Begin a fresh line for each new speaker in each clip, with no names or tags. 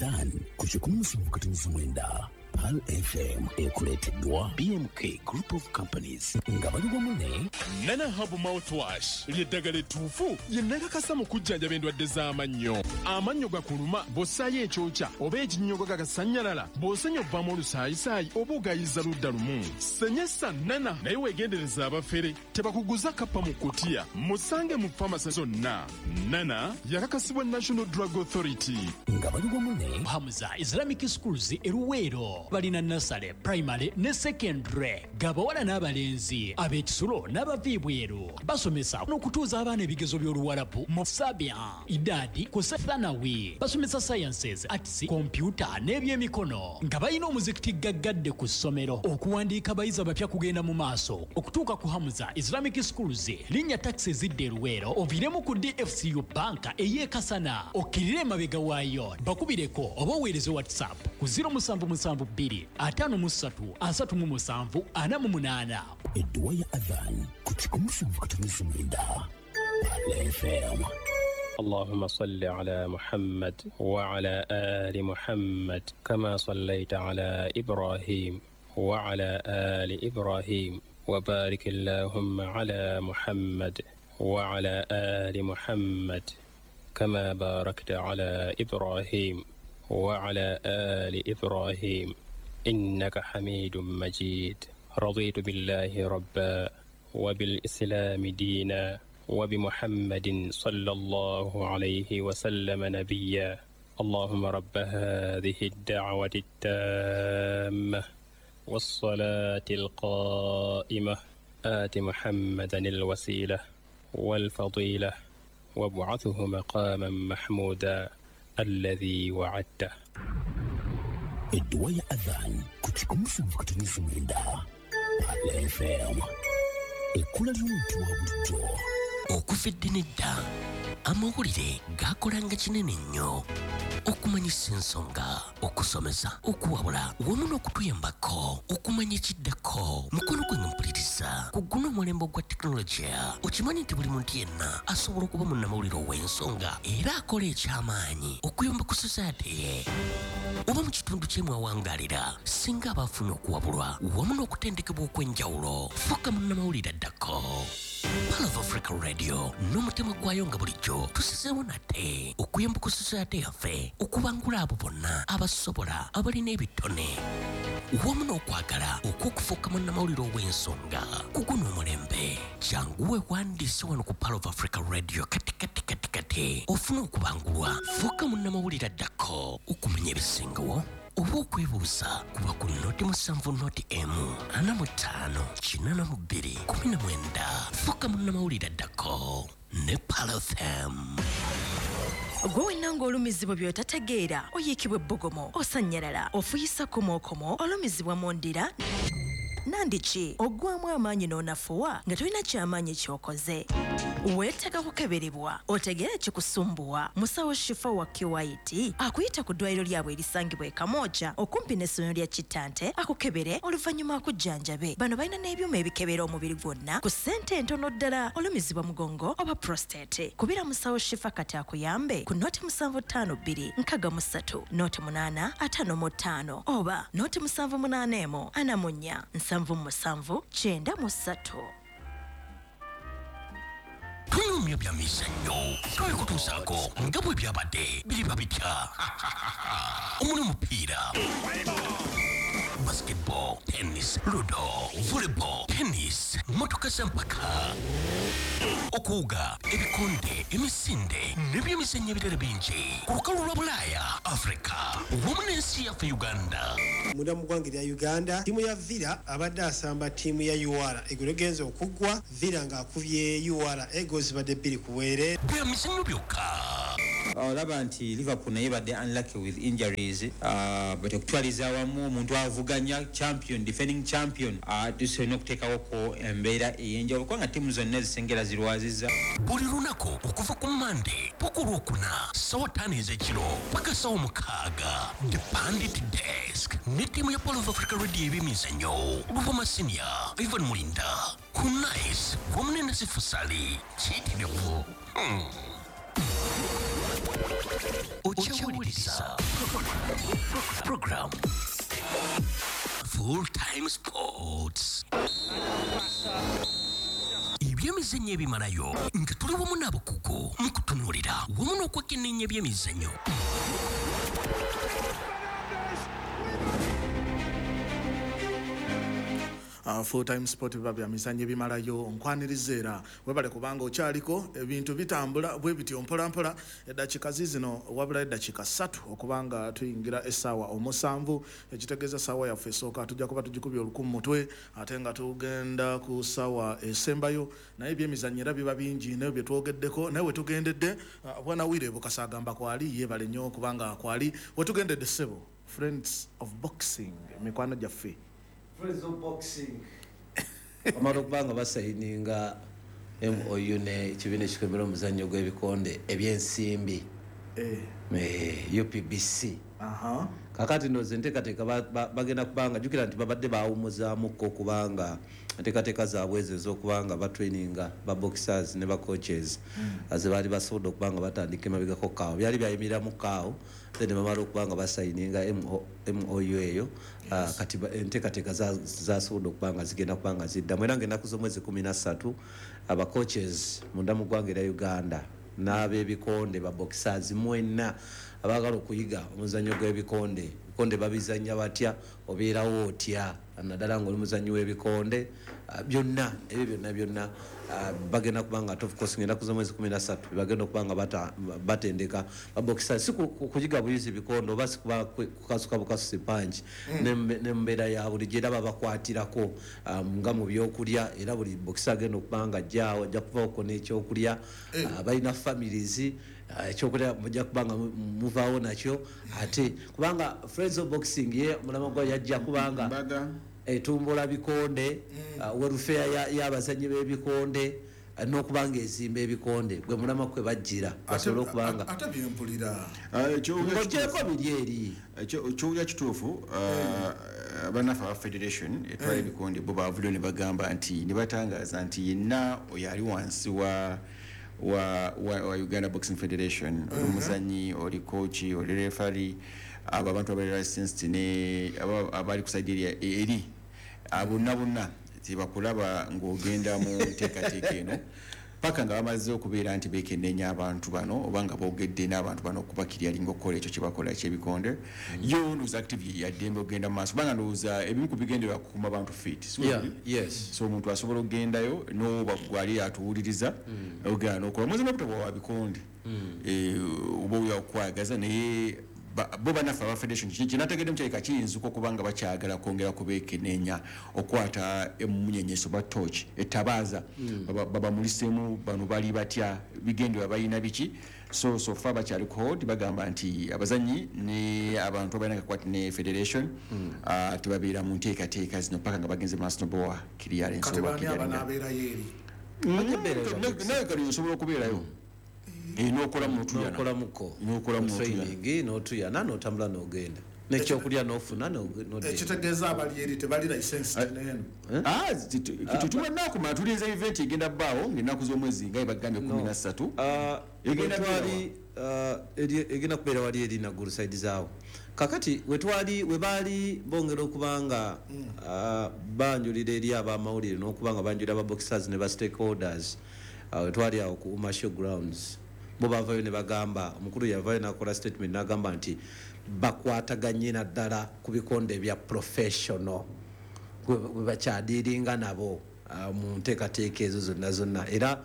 Adhan ku 107.9 Pearl FM ekuleeteddwa BMK Group of Companies nga bali wamu ne
Nana Herbal Mouthwash ly'eddagala ettuufu ye nakakasa mu kujjanjaba endwadde z'amannyo. Amannyo gakuluma bw'ossaayo ekyokya oba ekinnyogo gagasannyalala, bw'osenya ovaamu olusaayisaayi oba ogayiza ludda lumu. Senyesa Nana naye weegendereza abafere tebakuguza kappa mu kutiya. Musange mu famasi zonna. Nana yakakasibwa National Drug Authority.
Nga bali wamu ne
Hamza Islamic Schools e Luweero balina nursery, primary ne secondary g'abawala n'abalenzi, ab'ekisulo n'abava ebweru. Basomesa n'okutuuza abaana ebigezo by'Oluwarabu mu Sabia, Idadi ku Thanawi. Basomesa sciences, arts, kompyuta n'ebyemikono nga balina omuzikiti gaggadde ku ssomero. Okuwandiika abayizi abapya kugenda mu maaso. Okutuuka ku Hamza Islamic Schools, linnya takisi ezidda e Luweero oviiremu ku DFCU Bank ey'e Kasana, okkirire emabega waayo. Bakubireko oba oweereze WhatsApp ku 0772 53 37 48.
Edduwa ya Adhan ku 107.9 Pearl FM.
اللهم صل على محمد وعلى آل محمد كما صليت على إبراهيم وعلى آل إبراهيم، وبارك اللهم على محمد وعلى آل محمد كما باركت على إبراهيم وعلى آل إبراهيم، إنك حميد مجيد. رضيت بالله ربا، وبالإسلام دينا، وبمحمد صلى الله عليه وسلم نبيا. اللهم رب هذه الدعوة التامة والصلاة القائمة، آت محمدا الوسيلة والفضيلة، وابعثه مقاما محمودا الذي وعدته.
Edduwa ya Adhan ku 107.9 Pearl FM, ekkula ly'omuntu wa bulijjo.
Okuva edda n'edda amawulire gakolanga kinene nnyo okumanyisa ensonga, okusomesa, okuwabula wamu n'okutuyambako okumanya ekiddako. Mukono gwange mpuliriza, ku guno omulembe ogwa tekinologiya, okimanyi nti buli muntu yenna asobola okuba munnamawulire ow'ensonga era akola ekyamaanyi okuyamba ku society ye oba mu kitundu kye mwawangalira, singa aba afunye okuwabulwa wamu n'okutendekebwa okw'enjawulo. Fuuka munnamawulire addako. Pearl of Africa Radio n'omutima gwayo nga bulijjo tusizeewo nate okuyamba ku society yaffe okubangula abo bonna abasobola, abalina ebitone wamu n'okwagala okw'okufuuka munnamawulire ow'ensonga ku guno omulembe. Jangu weewandiise wano ku Pearl of Africa Radio kati kati kati kati ofune okubangulwa. Fuuka munnamawulire addako. Okumanya ebisingawo oba okwebuuza, kuba ku 070 1 45 82 19. Fuuka munnamawulire addako ne Pearl FM.
Gwe wenna ng'olumizibwa by'otategeera, oyiikibwa ebbugumu, osannyalala, ofuyisa komookomo, olumizibwa mu ndira nandiki, oggwamu amaanyi n'onafuwa nga tolina kyamaanyi ky'okoze, weetaaga kukeberebwa otegeere ekikusumbuwa. Musawo Shifa wa QIT akuyita ku ddwaliro lyabwe erisangibwa e Kamwokya okumpi n'essomero lya Kittante, akukebere oluvannyuma akujjanjabe. Bano balina n'ebyuma ebikebera omubiri gwonna ku ssente entono ddala. Olumizibwa mugongo oba prostate, kubira musawo Shifa kati akuyambe ku 0752 63 08 55 oba 0781 44 77 93.
Tunyumya bya mizannyo, twabikutuusaako nga bwe byabadde biriba bitya omuli omupiira, basketball, tennis, ludo, volleyball, tennis, motoka z'empaka, okuwuga, ebikonde, emisinde n'ebyemizannyo ebirala bingi ku lukalu lwa Bulaaya, Afrika wamu n'ensi yaffe Uganda.
Munda mu ggwanga erya Uganda, ttiimu ya Villa abadde asamba ttiimu ya URA. Eggulo egenza okuggwa, Villa ng'akubye URA goolo zibadde 2-0.
Bya mizannyo byokka.
Olaba nti Liverpool naye badde unlucky with injuries, but okutwaliza awamu omuntu avuganya champion, defending champion, tusolina okuteekawoko embeera ey'enjawulo kubanga ttiimu zonna ezisengera zirwaziza.
Buli lunaku okuva ku Mande paka Olwokuna, sawa 5 ez'ekiro paka sawa 6, The Pandit Desk ne ttiimu ya Pearl of Africa Radio ebyemizannyo, Luvoma Senior, Ivan Mulinda, Hunais wamu ne Nasifusali kiyitirivu. Okyawuliriza program Full Time Sports, ebyemizannyo ebimalayo, nga tuli wamu n'abakugu mu kutunuulira wamu n'okwekenneenya ebyemizannyo.
Full Time Sport, biba bya mizannyo ebimalayo. Nkwaniriza era webale kubanga okyaliko. Ebintu bitambula bwe bityo mpola mpola. Eddakiika zizino, wabula eddakiika 3 okubanga tuyingira essaawa 7, ekitegeeza essaawa yaffe esooka tujja kuba tugikubye oluku mu mutwe, ate nga tugenda ku ssaawa esembayo. Naye ebyemizannyo era biba bingi naye bye twogeddeko, naye we tugendedde, bwana Wire Bukasa agamba kwali, yeebale nnyo kubanga kwali. We tugendedde, ssebo, Friends of Boxing, mikwano gyaffe.
Friends of Boxing bamala okuba nga basayininga MOU ne ekibiina ekikwembera omuzannyo gw'ebikonde ebyensimbi, UPBC. Kakati ndowooza enteekateeka bagenda kubanga, jjukira nti babadde bawummuzaamuko okubanga enteekateeka zaabwe ezo ez'okubanga batraininga ba boxers ne ba coaches ze baali basobodde okuba nga batandika emabegako kaawo, byali byayimiriramu kaawo. Then bamala okuba nga basayininga MOU eyo. Kati enteekateeka zasobodde okuba nga zigenda kuba nga ziddamu, era ng'ennaku z'omwezi 13 aba coaches munda mu ggwanga erya Uganda n'ab'ebikonde, ba boxers mwenna abaagala okuyiga omuzannyo gw'ebikonde, ebikonde babizannya batya, obeerawo otya naddala ng'oli muzannyi w'ebikonde, byonna ebyo byonna byonna bagenda kuba nga, of course, ng'ennaku z'omwezi 13 bagenda okuba nga batendeka babokisa, si kuyiga buyizi bikonde oba si kuba kukasuka bukasusi punch, ne mbeera ya bulijjo era babakwatirako nga mu byokulya. Era buli bokisa agenda okuba nga ajjaawo ajja kuvaako n'ekyokulya. Balina families, ekyokulya mujja kuba nga muvaawo nakyo. Ate kubanga Friends of Boxing ye omulamwa gwa yajja kubanga etumbula bikonde, welfare y'abazannyi b'ebikonde, n'okuba nga ezimba ebikonde, gwe mulamwa kwe bajjira basobole okubanga
ate byempulira.
Ng'ogyeko biri eri
Ekyowulira kituufu. Bannaffe aba federation etwala ebikonde bo bavuddeyo ne bagamba nti, ne batangaaza nti yenna oyo ali wansi wa Uganda Boxing Federation, oli muzanyi, oli coach, oli referee, abo abantu abali licensed ne abali ku side eri, bonna bonna tebakulaba ng'ogenda mu nteekateeka eno paka nga bamaze okubeera nti beekenneenya abantu bano oba nga boogedde n'abantu bano okubakiryalinga okukola ekyo kye bakola ekyebikonde. Yo ndowooza active yaddembe okugenda mu maaso, kubanga ndowooza ebimu ku bigendererwa kukuuma bantu fit. So omuntu asobola okugendayo n'oba gwali atuwuliriza, ogenda n'okola muzi n'obutaba wa bikonde, oba oyo okwagaza. Naye bo bannaffe aba federation, kyenategeddemu kyalika kiyinzika okuba nga bakyagala kwongera kubeekeneenya, okwata emunyenyeso ba torch, etabaaza, babamuliseemu bano bali batya, bigendererwa balina biki. So far bakyali ku hold, bagamba nti abazanyi ne abantu abalina kakwati ne federation tebabeera mu nteekateeka zino paka nga bagenze maaso nobowa clearance.
Kati
oba
baani
clearinga.
Abanaabeerayo eri?
Naye kali osobola okubeerayo, n'okolamu n'otuyana.
N'okolamuko.
N'okolamu n'otuyana.
Training n'otuyana n'otambula n'ogenda n'ekyokulya n'ofuna n'odda.
Ekitegeeza abali eri tebali licensed neeno?
Tunakumala tulinze event egenda bbaawo ng'ennaku z'omwezi nga ebagambye 13. Egenda
Wetwali egenda kubeera wali eri Naggulu side zaawo. Kakati wetwali we baali bongera okubanga banjulira eri abamawulire n'okubanga banjulira aba boxers ne ba stakeholders, wetwali awo ku Uma Show Grounds, bo bavayo ne bagamba, omukulu yavayo n'akola statement n'agamba nti bakwataganye naddala ku bikonde ebya professional bwe bakyadiiringa nabo mu nteekateeka ezo zonna zonna. Era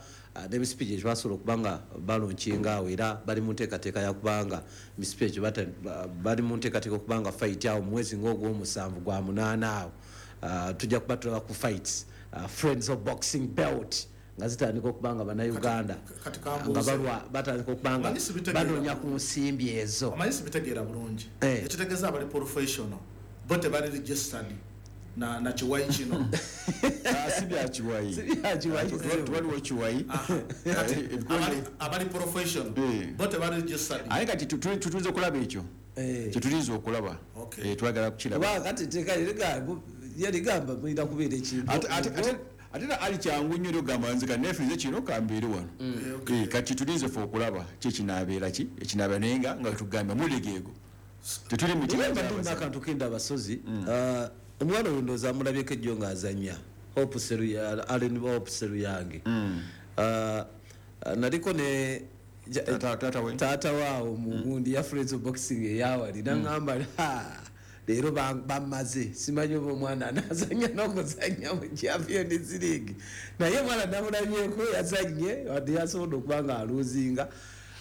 n'emisipi gye basobola okuba nga balonkinga awo, era bali mu nteekateeka yakubanga emisipi egyo bali mu nteekateeka okuba nga fight awo mu mwezi ng'ogw'omusanvu gwa munaana awo, tujja kuba tulaba ku fights, Friends of Boxing belt nga zitandika okuba nga Bannayuganda
Kati
nga
kambuuze.
balwa batandika okuba nga
Omanyi sibitegeera.
banoonya ku nsimbi ezo.
Omanyi sibitegeera bulungi. Ekitegeeza abali professional bo tebali registered na kiwayi kino?
Si bya kiwayi.
Si bya kiwayi.
Waliwo kiwayi.
Kati abali professional bo tebali registered?
Aye kati tutulinza okulaba ekyo kyetulinza okulaba. Twagala kukiraba.
Kuba kati teeka yaligamba mulina kubeera ekintu.
Ate- ate- ate-
Ate era ali kyangu nnyo ogamba nze kaneefiirize kino kambeere wano. Kati tulinze ffe okulaba ki ekinaabeera ki ekinaabeera, naye nga tugambye mulegeego tetuli mu
Naye mbadde nina akantu kenda abasozi. Omwana oyo ndowooza amulabyeko ejjo ng'azannya Hope Allen Hope Seruyange. Naliko ne taata waawo mu gundi ya Friends of Boxing eyawali, naŋŋamba, leero bammaze, simanyi oba omwana anaazannya n'okuzannya mu Champions League, naye omwana namulabyeko yazannye, wadde yasobodde okuba nga aluuzinga.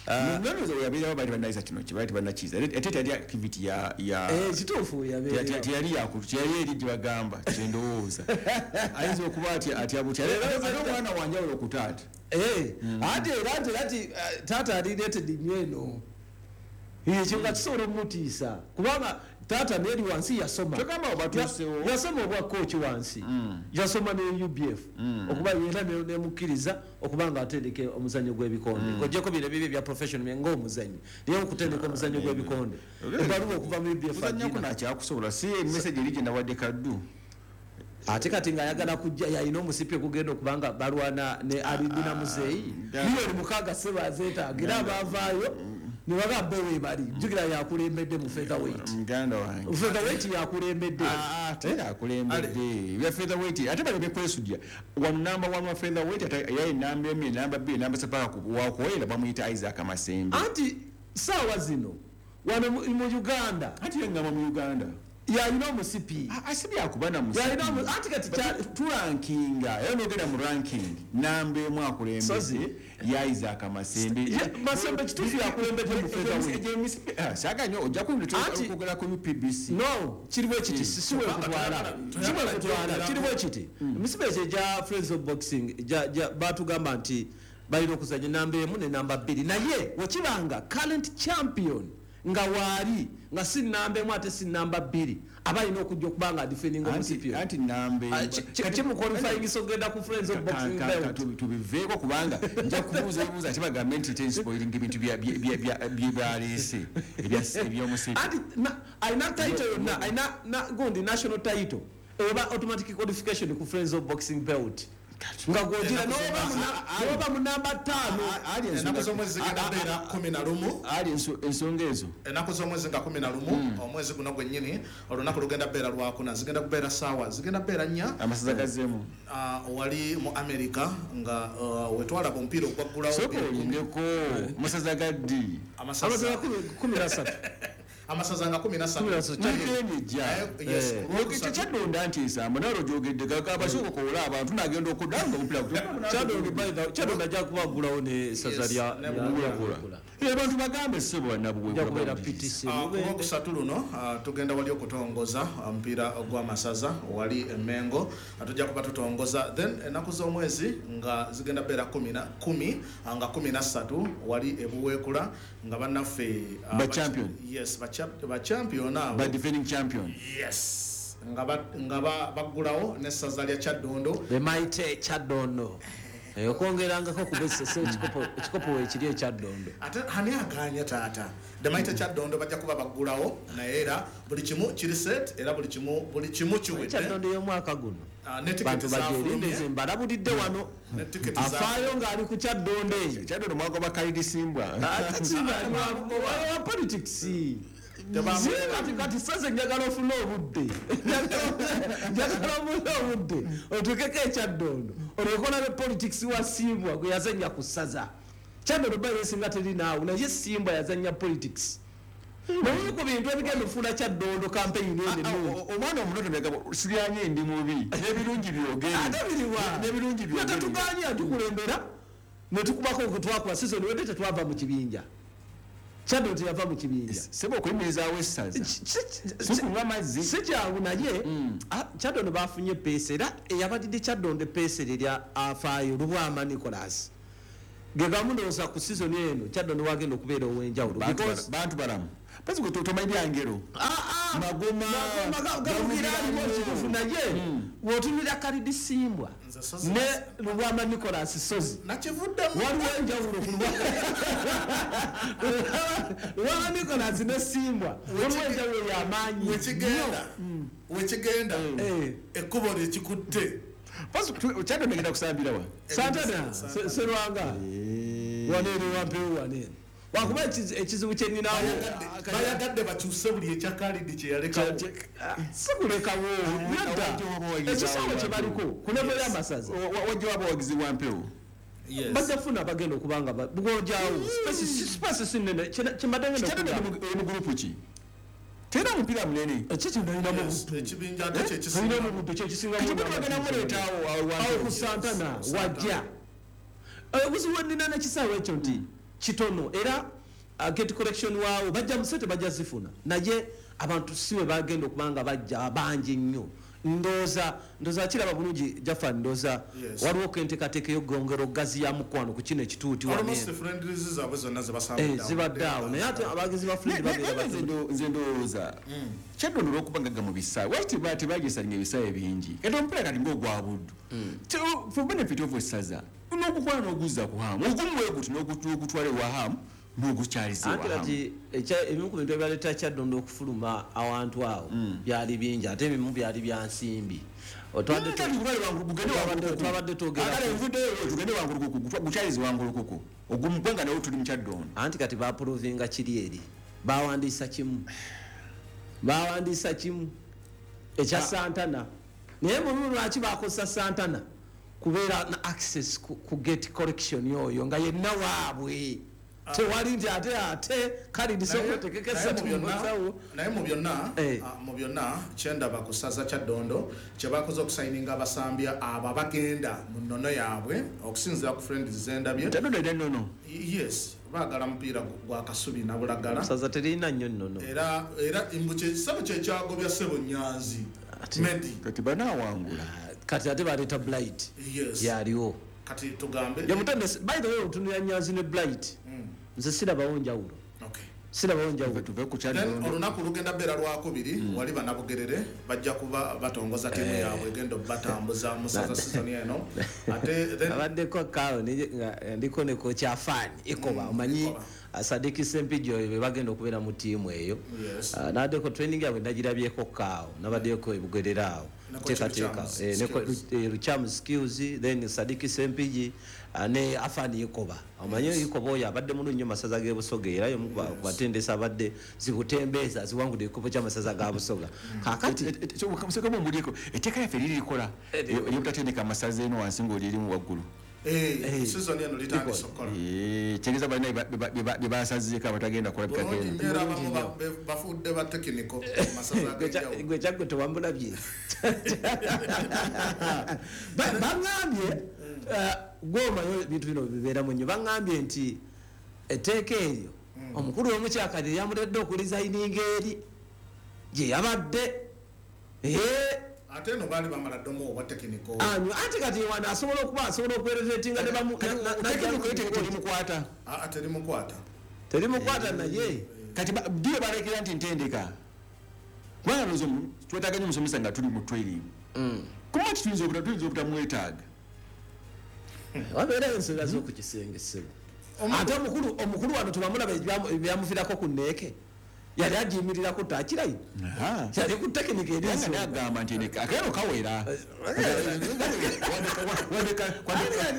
Nalowooza we yabeerawo baali bannayisa kino kye baali tebannakiza, ate teyali activity ya
Kituufu, yabeerawo.
Teyali teyali eri gye bagamba, kyendowooza ayinza okuba atya butya, ate omwana wanjawulo ku taata.
Ate era nti ati taata ali rated nnyo eno, ekyo nga kisobola omutiisa kubanga taata neeri wansi yasoma.
Kyogamba batuusewo.
Yasoma obwa coach wansi, yasoma ne UBF okuba era nemukkiriza okuba nga atendeka omuzannyo gw'ebikonde, ng'oggyeko bino ebibi ebya professional ng'omuzannyi, naye okutendeka omuzannyo gw'ebikonde ebbaluwa okuva mu UBF
Kuzannyako
agina.
Nakyakusobola si message eri gye nawadde Kaddu.
Ate kati ng'ayagala kujja, yalina omusipi ogugenda okubanga balwana ne Alidina Muzeeyi 6 million sebazeetaaga, era abaavaayo ne bagamba we bali, jjukira yakulembedde mu featherweight.
Muganda wange.
Featherweight yakulembedde.
Ate yakulembedde bya featherweight, ate baleme kwesujja wano namba 1 wa featherweight, ate yaye namba 1, namba 2, namba 3 paka wakuwera bamuyita Isaac Masembe.
Anti saawa zino wano mu Uganda
Ati yengamba mu Uganda
yalina omusipi.
Si byakuba na musipi.
Yalina anti kati
Turankinga era nogenda mu ranking, namba 1
Sozi.
akulembedde ya Isaac Masembe.
Masembe kituufu yakulembedde mu featherweight.
Saga nnyo ojja kwogera ku UPBC.
No, kiri bwe kiti, si wekutwala, si bwekutwala, kiri bwe kiti. Emisipi ekyo egya Friends of Boxing batugamba nti balina okuzanya namba 1 ne namba 2, naye wekibanga current champion nga waali nga si namba 1 ate si namba 2, aba alina okujja okuba nga adefendinga omusipi.
Anti namba
Kimuqualifyingisa okugenda ku Friends of Boxing belt.
Tubiveeko kubanga nja kubuuza ebibuuzo ate bagambe nti tenspoiling ebintu bye baleese ebyomusipi.
Anti alina title yonna, alina gundi national title eba automatic qualification ku Friends of Boxing belt nga gwogira n'oba mu namba 5.
Ennaku z'omwezi zigenda kubeera 11.
Ali ensonga ezo.
Ennaku z'omwezi nga 11 omwezi guno gwennyini, olunaku lugenda kubeera lwakuna, zigenda kubeera saawa zigenda kubeera 4.
Amasaza gazeemu.
Wali mu America nga wetwalaba omupiira ogwaggulawo.
Sooka oyindeko, masaza gaddi?
Amasaza 13.
Amasaza nga 13.
Weekend ejja.
Yes, ku Lwokusatu.
Tekyadonda nti ensambo nawe ogyogedde abasooka okoola abantu nagenda okudda nga omupiira.
Kyadondo ajja kubagulawo n'essaza lya
Ne
Buweekula.
Abantu bagambe ssebo.
Ajja kubeera PTC.
Ku Lwokusatu luno tugenda wali okutongoza omupiira gw'amasaza wali emengo. Tujja kuba tutongoza, then ennaku z'omwezi nga zigenda beera 10 nga 13 wali ebuweekula nga bannaffe
Ba champion.
Yes, ba champion abo.
Ba defending champion.
Yes, nga baggulawo n'essaza lya Kyaddondo.
The mighty Kyaddondo. Okwongerangako kuba essese ekikopo weekiri ekyaddondo.
Ate ani aganya taata? The mighty Kyaddondo bajja kuba baggulawo, naye era buli kimu kiri set, era buli kimu kiwedde.
Kyaddondo y'omwaka guno
Ne tiketi
bantu
zafulumye.
bagyerindeze, mbalabulidde wano.
Ne tiketi
Afaayo ng'ali ku Kyaddondo eyo.
Kyaddondo mwagoba Kalidi Simbwa.
Wa politics. Kati saze njagala ofune obudde, njagala ofune obudde otukeko ekyaddondo olyoke olabe politics wa Simbwa gwe yazanya ku ssaza Kyaddondo. Bayo esinga teri naawe, naye Simbwa yazanya politics naye ku bintu ebigenda ofuula Kyaddondo campaign eno ennungi.
Omwana omuto temegamba siryanye ndi mubi, n'ebirungi byogere.
Ate biriwa?
N'ebirungi byogere.
Tetuganya tukulembera netukubako okutwakuba season wedde, tetwava mu kibinja. Kyaddondo teyava mu kibinja.
Sebo okuyimirizaawo essaza sikunywa mazzi.
Si kyangu, naye Kyaddondo bafunye peesa, era eyabadidde Kyaddondo epeesa erya afaayo Lubwama Nicolas ge gamu. Ndowooza ku season eno Kyaddondo wagenda okubeera ow'enjawulo
Bantu balamu pasi gwe tomanyi byangero.
Magoma gamugira aliwo kituufu, naye bw'otunulira Kalidi Simbwa ne Lubwama Nicolas Sozi,
Nakivuddemu.
Waliwo enjawulo ku Lubwama Nicolas ne Simbwa, waliwo enjawulo y'amaanyi.
Wekigenda, wekigenda, ekkubo lyekikutte.
Kyaddondo egenda kusambira wa?
Santana Serwanga waneero wampewo waneeno, wakuba ekizibu kyeninawo.
Bayagadde bakyuse buli ekya Khalid kyeyalekawo.
Sikulekawo nedda, ekisaawe kye baliko ku level y'amasaza.
Wajja waba wagizi wa mpewo.
Bajja kufuna abagenda okubanga bwojawo space si nnene kyembadde ngenda.
Kyaddondo eri mu group ki? Terina mupiira munene.
Ekyo
ekibinja ate kyekisinga.
Mu buddu kyekisinga.
Kati bagenda muleetaawo
awo ku Santana wajja. Obuzibu bwenina nekisaawe ekyo nti kitono, era gate collection waawo bajja musente bajja zifuna, naye abantu si we bagenda okubanga bajja bangi nnyo. Ndooza kiraba bulungi Jafan, ndooza waliwo kenteekateeka ey'okugongera okugaziya mukwano ku kino ekituuti.
Almost friendlies zaabwe zonna zebasambidde
zibadde awo, naye ate abagizi ba friendly babeera batono.
Nze ndowooza Kyaddondo olw'okuba ngagga mu bisaawe, lwaki tebagisalinga ebisaawe bingi? Kati omupiira kati ng'ogwa Buddu, for benefit of essaza, n'ogukola n'oguzza ku Hamu, ogumu bwe guti n'ogutwala ewa Hamu n'ogukyaliza ewa
Anti
Hamu.
Kati ebimu ku bintu ebyaleeta Kyaddondo okufuluma awantu awo byali bingi, ate ebimu byali bya nsimbi. Twabadde twogera
Akale nvuddeyo, tugende Wankulukuku, gukyalize Wankulukuku ogumu gwe nga nawo tuli mu Kyaddondo.
Anti kati bapurovinga kiri eri bawandiisa kimu, bawandiisa kimu ekya Santana, naye mubimu lwaki bakozesa Santana kubeera na access ku gate collection oyo nga yenna waabwe, tewali nti ate Khalid sokotekeka esatu musawo.
Naye mu byonna kyendaba ku ssaza Kyaddondo kye bakoze okusayininga abasambi abo abagenda mu nnono yaabwe okusinziira ku friends zendabye.
Kyaddondo erina nnono?
Yes, baagala mupiira gwa Kasubi na Bulagala.
Saza terina nnyo nnono.
Era mbu kyekisabo kyekyagobya Ssebo Nyanzi Medi.
Kati banaawangula.
Kati ate baleeta Blight. Yaliwo.
Kati tugambe
Yamutendesi, by the way, otunulira Nyanzi ne Blight, nze sirabawo njawulo. Sirabawo njawulo.
Tuve ku
Then olunaku lugenda beera lwakubiri, wali banabugerere bajja kuba batongoza tiimu yaabwe egenda obatambuza mu ssaza season eno, ate then
Abaddeko kaawo nga ndiko ne coach Afani Ikoba, omanyi Sadiki Sempijjo oyo be bagenda okubeera mu ttiimu eyo. Naddeko training yaabwe nagirabyeko kaawo, nabaddeko ebugerera awo.
Ne coach
Teekateeka,
Luchamu
ne
skills.
Luchamu skills, then Sadiki Sempiji ne Afani Ikoba, omanyi Ikoba oyo abadde mulungi nnyo masaza g'e Busoga, era y'omu ku batendesi abadde zibutembeeza ziwangudde ekikopo ky'amasaza ga Busoga. Kaakati
Sekamu mbulyeko, etteeka lyaffe liri likola eryobutatendeka amasaza eno wansi ng'oli erimu waggulu.
Season eno litandise okukola.
Kitegeeza balina bye basazeeko abatagenda kulabika.
Bulungi
Genda.
nnyo, era abamu bafudde ba technical mu masaza ag'enjawulo.
Gwe kyaggwe tewambulabye.
Baŋŋambye gwomanyi ebintu bino bibeeramu nnyo, baŋŋambye nti etteeka eryo omukulu w'omukyakati yamuletedde okulizayininga eri gye yabadde.
Ate eno baali bamala ddomu obwa technical.
Anyo ate kati wano asobola okuba asobola okwerevetinga ne bamu
Terimukwata.
Aa, terimukwata.
Terimukwata naye.
Kati ddiyo balekera nti ntendeka, kubanga ndowooza twetaaga nnyo omusomesa nga tuli mu training, kuba ki tuyinza obutamwetaaga.
Wabeerayo ensonga z'oku kisenge ssebo, ate omukulu wano tebamulaba ebyamuviirako ku neeke, yali agiyimirirako takirayi, yali ku tekinika eri.
Era nga agamba nti akeero kawera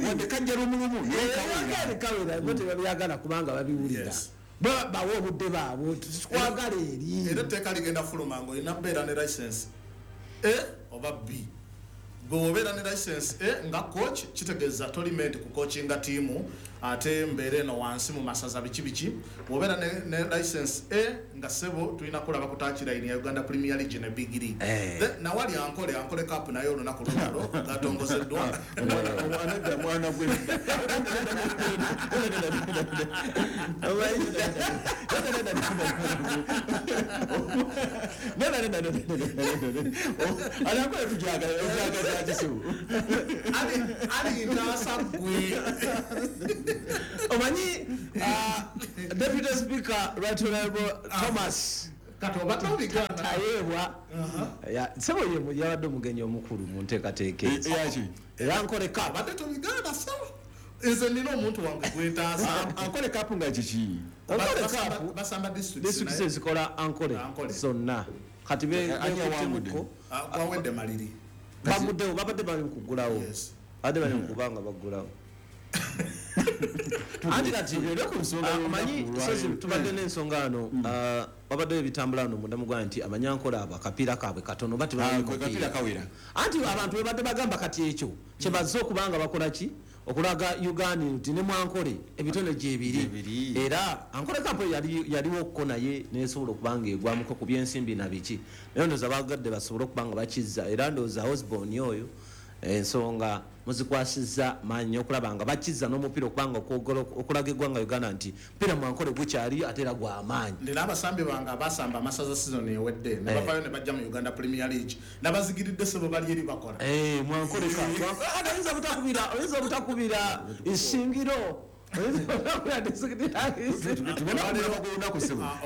wadde kajja lumulumu.
Kawera kawera, bo tebabyagala kubanga babiwulira. Bawe obudde baabwe, twagala eri.
Era etteeka ligenda fuluma ng'olina kubeera ne license A oba B. Gwe obeera ne license A nga coach, kitegeeza toli meant ku coachinga tiimu ate mbeera eno wansi mu masaza biki biki. Bw'obeera ne license A nga ssebo tulina kulaba ku touchline ya Uganda Premier League ne Big League. Then nawali Ankole Cup naye olunaku lunalo gatongozeddwa.
Anadda mwana gwe. Anakola tujagala kisibu.
Ali ntaasa gwe.
Omanyi Deputy Speaker Right Honorable Thomas
Kati obadde obigaana.
Tayebwa sebo ye yabadde omugenyi omukulu mu nteekateeka ezo.
Eyaki?
Era Ankole Cup.
Abadde tobigaana sawa, nze nina omuntu wange gwentaasa.
Ankole Cup nga kiki?
Ankole Cup
basamba districts.
Districts ezikola Ankole
Ankole.
zonna kati
Ani awangudde?
bekutemuko.
Gwawedde maliri.
Baguddewo, babadde bali mu kuggulawo, badde bali mu kubanga baggulawo. Anti kati omanyi sozi tubadde n'ensonga ano, wabaddewo ebitambula ano munda mu ggwanga nti Abanyankole abo akapiira kaabwe katono, bati bamanyi
Akapiira kawera.
Anti abantu bebadde bagamba kati ekyo kyebazze okubanga bakola ki, okulaga Uganda nti ne mwankole ebitone gyebiri, era Ankole Cup yaliwoko naye nesobola okubanga egwamuko ku byensimbi na biki, naye ndowooza bagadde basobole okubanga bakizza. Era ndowooza Osborne oyo ensonga muzikwasizza maanyi okulaba nga bakizza n'omupiira okubanga okulaga eggwanga Uganda nti mupiira mwankole gukyali ate era gwa maanyi.
Ndina abasambi bange abasamba amasaza season ewedde ne bavayo ne bajja mu Uganda Premier League, nabazigiridde sebo bali eri bakola.
Mwankole oyinza butakubira isingiro.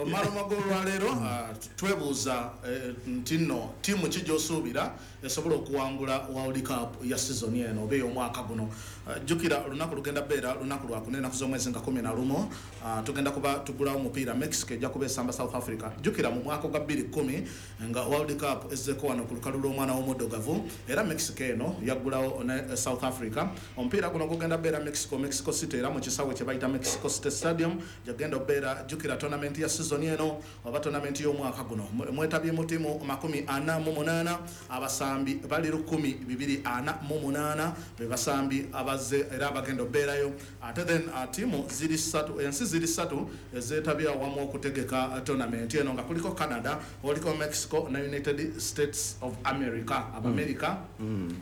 Omala golwaleero twebuuza nti nno ttiimu ki gy'osuubira esobola okuwangula World Cup ya season eno oba ey'omwaka guno. Jjukira olunaku lugenda beera lunaku lwakuna, ennaku z'omwezi nga 11, tugenda kuba tugulawo omupiira. Mexico ejja kuba esamba South Africa. Jjukira mu mwaka gwa 2010 nga World Cup ezzeeko wano ku lukalu lw'omwana w'omuddugavu, era Mexico eno yaggulawo ne South Africa. Omupiira guno gugenda beera Mexico, Mexico City, era mu kisaawe kye bayita Mexico City Stadium gyagenda obeera. Jjukira tournament ya season eno oba tournament y'omwaka guno mwetabye mu ttiimu 48, abasambi bali 1248 be basambi abazze era abagenda obeerayo. Ate then ttiimu ziri ssatu, ensi ziri ssatu ezeetabye awamu okutegeka tournament eno, nga kuliko Canada, oliko Mexico ne United States of America. Abamerika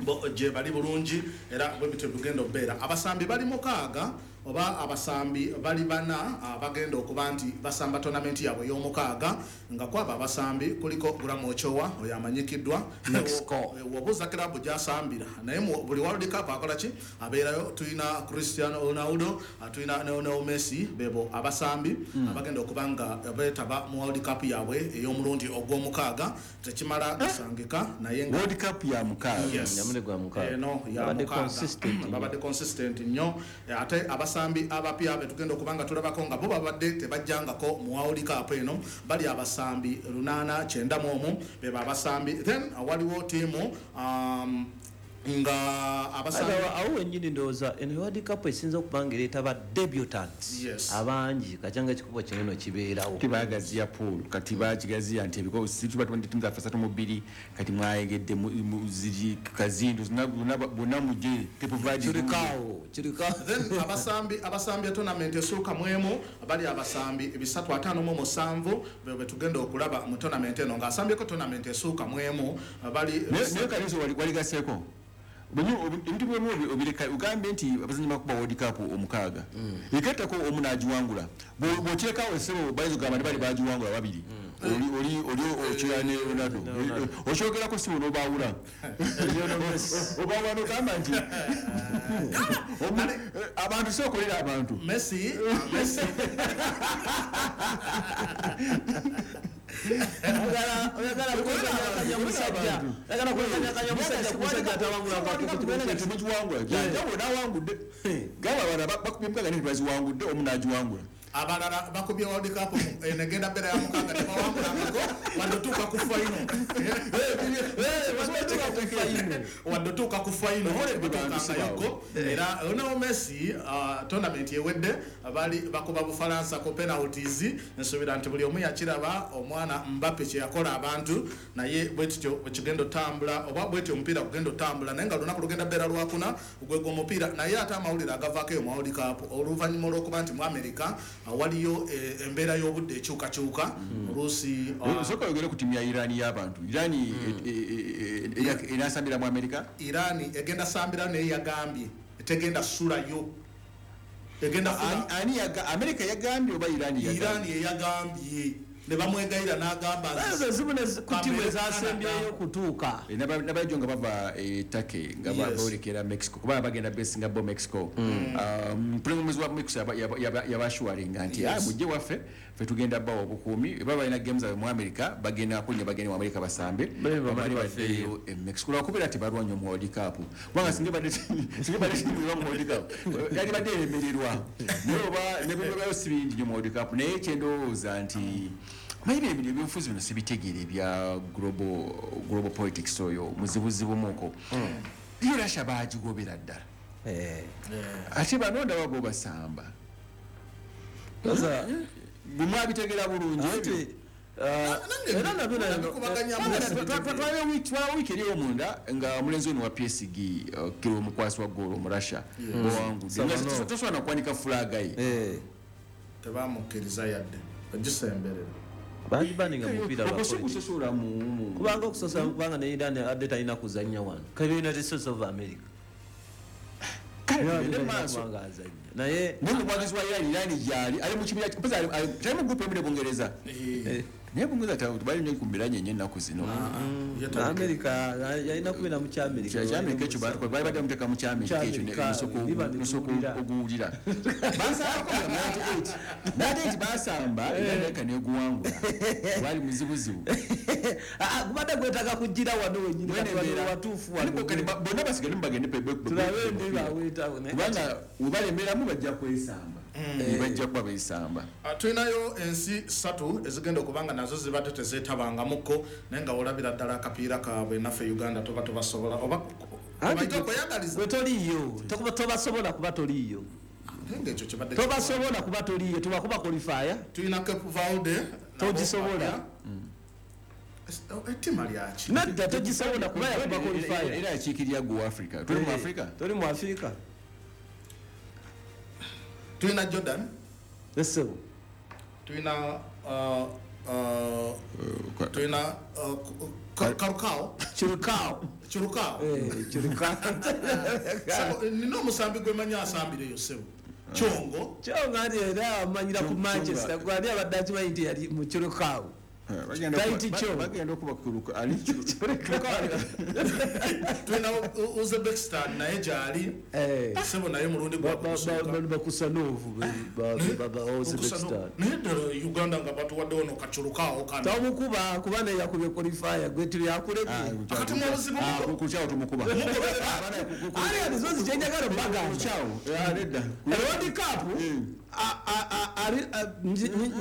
bo gye bali bulungi, era bwe bityo bigenda obeera. Abasambi bali 6 oba abasambi bali 4 abagenda okuba nti basamba tournament yaabwe ey'omukaaga, nga kwabo abasambi kuliko Graham Ochoa oyo amanyikiddwa
Mexico,
wobuuza club gy'asambira naye buli World Cup akola ki abeerayo. Tulina Cristiano Ronaldo, tulina Lionel Messi, bebo abasambi abagenda okuba nga beetaba mu World Cup yaabwe ey'omulundi ogw'omukaaga. Tekimala gasangika naye nga
World Cup ya mukaaga.
Eno ya mukaaga, babadde consistent nnyo. Ate abasambi abapya betugenda okubanga tulabako nga bo babadde tebajjangako mu World Cup eno bali abasambi 891 beba abasambi. Then waliwo ttiimu nga abasambi
awo wennyini ndowooza eno World Cup esinza okuba nga ereeta ba debutants abangi, kacyanga ekikubo kinene kibeerawo.
Tibagaziya pool kati bakigaziya nti ebiko situba ttiimu zaffe 32 kati mwayegedde ziri kazindu bonna mujje
kirikaawo.
Then abasambi ya tournament esooka mwemu bali abasambi 357 be tugenda okulaba mu tournament eno, ng'asambyeko tournament esooka mwemu bali.
Naye kaliso waligaseeko ebintu byemu obireka, ogambye nti abazannyi bakuba World Cup omukaaga, egattako omu n'agiwangula, bw'oteekawo essebo bayinza okugamba nti bali bagiwangula babiri, oli Ochoa ne Ronaldo, okyogerako si n'obaawula, obaawula n'ogamba nti abantu si okolera abantu
Messi
temugiwangula, omu n'agiwangula.
Abalala bakubye World Cup enegenda beera ya mukaaga tebawangulangako wadde otuuka ku final, wadde otuuka ku final batuukangayoko. Era Lionel Messi tournament ewedde bali bakuba Bufalansa ku penalties. Nsuubira nti buli omu yakiraba omwana Mbappe kye yakola abantu, naye bwe tutyo bwekigenda otambula oba bwetyo omupiira gugenda otambula, naye nga lunaku lugenda beera lwakuna gwegwo omupiira. Naye ate amawulire agavaako eyo mu World Cup oluvannyuma olw'okuba nti mu America waliyo embeera y'obudde ekyukakyuka oluusi.
Sooka oyogere ku ttiimu ya Iran y'abantu. Iran enasambira mu America?
Iran egenda sambira naye yagambye tegenda sulayo, egenda
ani America yagambye oba Iran yagambye?
Iran yagambye ne bamwegayira n'agamba
ezo zimu ku ttiimu ezasembyeyo kutuuka.
Nabajo nga bava Turkey nga boolekera Mexico, kuba bagenda besinga bo Mexico. Pulezidenti wa Mexico yabashuwaringa nti mujje waffe ffe tugenda bawa obukuumi, baba balina games zaabwe mu America bagenda kunya bagende mu America basambe bamale baddeyo e Mexico, lwakubeera tebalwanye mu World Cup, kubanga singa badde mu World Cup yali badde eremererwa, naye oba nebibayo si bingi nnyo mu World Cup. Naye kyendowooza nti Maybe ebintu ebyobufuzi bino sibitegeere ebya global politics, oyo muzibuzibu muko. Yo Russia bagigobera ddala, ate bano ndaba bo basamba. Bwe mwabitegera bulungi ebyo.
Era nabyo
Twala wiiki eri omunda nga omulenzi ono wa PSG, kiro omukwasi wa goolo mu Russia, bwewangudde.
Samanov.
Tosobola nakuwanika flag ye.
Tebamukkiriza yadde ogisemberera.
Bagibaninga mupiira lwa
Okwo si
politics.
kusosola mu
Kubanga okusosola, kubanga ne Iran adde talina kuzannya wano, kabe United States of America.
Kale
Naye
tugende
talina
maaso.
kubanga azannya, naye
Naye omuwagizi wa Iran, Iran gyali ali mu kibiina, mpozi tali mu group emu ne Bungereza, naye Bungereza bali nnyo ku mbiranye nnyo ennaku zino.
America yalina kubeera mu Kyamerika.
Kyamerika ekyo bali badde muteeka mu Kyamerika ekyo.
Ky'Amerika, biba
nosooka
netuwulira.
oguwulira basambako nga 98 basamba, Amerika neguwangula, gwali muzibuzibu.
Ah, gubadde gwetaaga kugira wano wenyini,
Mwene
kati wano
embeera.
watuufu wano.
Ariko kati bonna basigale mubagende
Tulabe ndi baweetawo, naye
kubanga webalemeramu bajja kwesamba. Bajja kuba besamba.
Tulinayo ensi ssatu ezigenda okuba nga nazo zibadde tezeetabangamukko, naye nga olabira ddala akapiira kaabwe naffe Uganda tuba tubasobola oba
Anti
obaita okweyagaliza.
Gwe toliiyo, tobasobola kuba toliiyo.
Naye nga ekyo kibadde
Tobasobola kuba toliiyo, tubakuba qualifier.
Tulina Cape Verde nabo.
Togisobola.
Ettima lyaki?
Nedda, togisobola kuba yakuba qualifier.
Era yakiikirira gwe Africa, tuli mu Africa.
Toli mu Africa.
Tulina Jordan.
Esebo.
Tulina tulina Karukao.
Chirukao.
Chirukao.
Chirukao.
Sebo, nina omusambi gwe manyi asambireyo, sebo, Kyongo.
Kyongo ati era amanyira ku Manchester, gwani abadde akimanyi nti yali mu Chirukao? Taiti Kyongo.
Bagenda okuba kuruka ali.
Tulina Uzbekistan, naye gyali, sebo, naye mulundi gwakusooka.
Bakusanovu Uzbekistan.
Naye ddala Uganda nga batuwaddewo no Kacurukaawo kano.
Tomukuba kuba naye yakubye qualifier, gwe tebyakulebye.
Akati mu obuzibu
Kukyawo tumukuba.
Ali zozi kyenjagala bagamba World Cup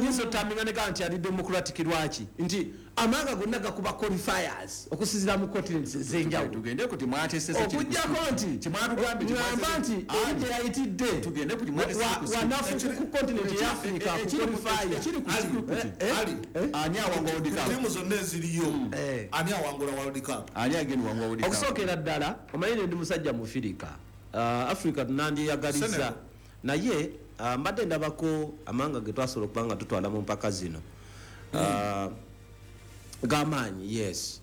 nyinza otaminga nega nti ali democratic. Lwaki? Nti amanga gonna gakuba qualifiers okusinziira mu continents ez'enjawulo.
Tugende ku timwatesese.
Okuggyako nti
Timwatugambye.
ŋŋamba nti eri gye yayitidde
Tugende ku timwatesese
wanafu ku continent ya Africa ku qualifier.
Ekiri ku script.
Ali
Ani awangula World Cup?
Tiimu zonna eziriyo, ani awangula World Cup?
Ani agenda wangula World Cup?
Okusookera ddala, omanyi ndi musajja mufirika, Africa nandiyagaliza.
Senegal.
Naye mbadde ndabako amanga ge twasobola okuba nga tutwala mu mpaka zino, g'amaanyi, yes.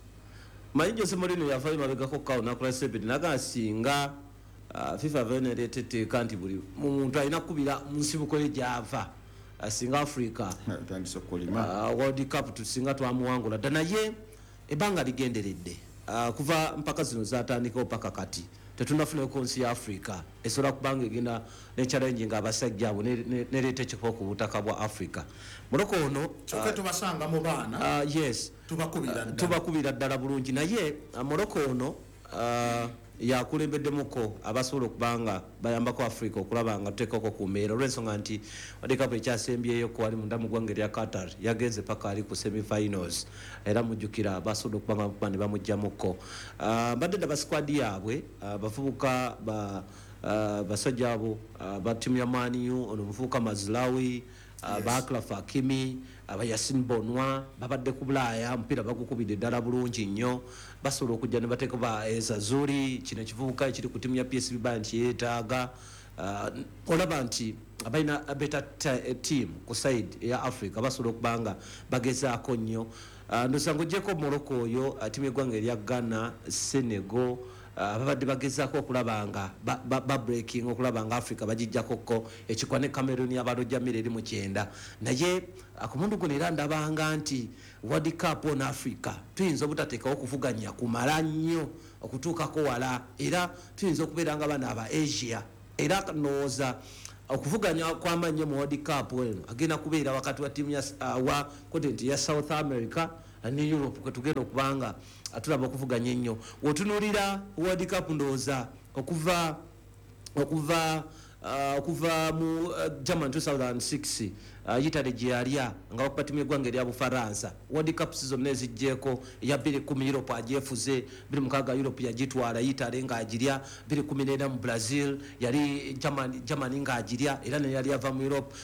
Manyi Jose Mourinho yavayo mabegako kawo nakola statement nagaa singa FIFA avayo nereeta etteeka nti buli muntu alina kukubira mu nsibuko ye gyava, singa Africa
Tandise okukolima.
World Cup tusinga twamuwangula dda, naye ebbanga ligenderedde. Kuva mpaka zino zatandikawo paka kati tetunafunako nsi ya Africa esobola kubanga egenda ne challenge nga abasajja abo nereeta ekifo ku butaka bwa Africa. Moroko ono
Kyokka tubasanga mu baana.
Yes.
Tubakubira ddala.
Tubakubira ddala bulungi, naye Moroko ono yakulembeddemuko abasobola okuba nga bayambako Africa okulaba nga tuteekako ku mbeera, olw'ensonga nti World Cup ekyasembyeyo ko wali munda mu ggwanga erya Qatar yagenze paka ali ku semifinals, era mujjukira basobola okuba nga bamukuba ne bamugjamuko. Mbadde ndaba squad yaabwe, bavubuka ba basajja abo ba ttiimu ya Man U, ono omuvubuka Mazraoui, ba Achraf Hakimi, aba Yassine Bounou, babadde ku Bulaaya, omupiira bagukubidde ddala bulungi nnyo. Basobola okujja ne bateeka ba Ezzalzouli, kino ekivubuka ekiri ku ttiimu ya PSV Bayern kyeyeetaaga. Olaba nti balina better team ku side eya Africa, basobola okuba nga bagezaako nnyo. Ndowooza ng'oggyeko Morocco oyo, ttiimu y'eggwanga erya Ghana, Senegal, babadde bagezaako okulaba nga ba breaking okulaba nga Africa bagijjakoko ekikwa, ne Cameroon yabalojamire eri mu 90. Naye ku mundu guno era ndabanga nti World Cup on Africa tuyinza obutateekawo okuvuganya kumala nnyo okutuukako wala, era tuyinza okubeera nga bano aba Asia. Era ndowooza okuvuganya kw'amaanyi mu World Cup eno agenda kubeera wakati wa ttiimu wa continent ya South America ne Europe, kwe tugenda okubanga tulaba okuvuganya ennyo. Wotunuulira World Cup, ndowooza okuva Okuva mu German 2006, Italy gye yalya nga bakuba timu yeggwanga erya Bufaransa. World Cups zonna ezijjeeko, eya 2010 Europe agyefuze, 2006 Europe yagitwala Italy ng'agirya, 2014 mu Brazil yali Germany ng'agirya, era naye yali ava mu Europe.